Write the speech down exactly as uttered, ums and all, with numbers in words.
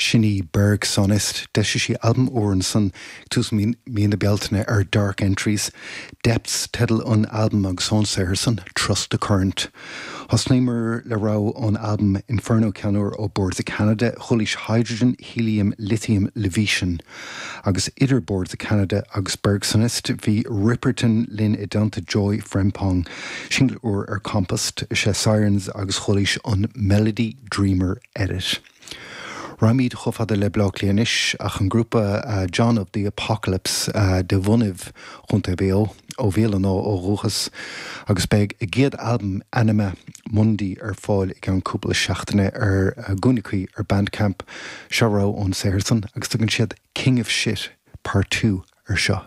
Sin í Bergsonist d'eisigh sí albam úr ansan tús mí na Bealtaine ar Dark Entries. Depths teideal an albam agus ón saothar san Trust the Current. Thosnaíomar le rogha ón albam Inferno ceann úr ó Boards of Canada, chualaís Hydrogen, Helium, Lithium, Levitian. Agus idir Boards of Canada agus Bergsonist bhí Ripperton linn i dteannta Joy Frempong, single úr ar Compost sé Sirens agus chualaís an Melody Dreamer Edit. Raghaimid chomh fada le Bleá Cliath anois ach an grúpa uh, John of the Apocalypse uh, de bhunaibh Chontae Mhaigh Eo ó Bhéal an Átha ó dhúchas agus beidh a gcéad albam Anima Mundi ar fáil i gceann cúpla seachtaine ar uh, gúnaí ar Bandcamp seo rogha ón saothar san agus tugann siad King of Shit Part Two ar seo.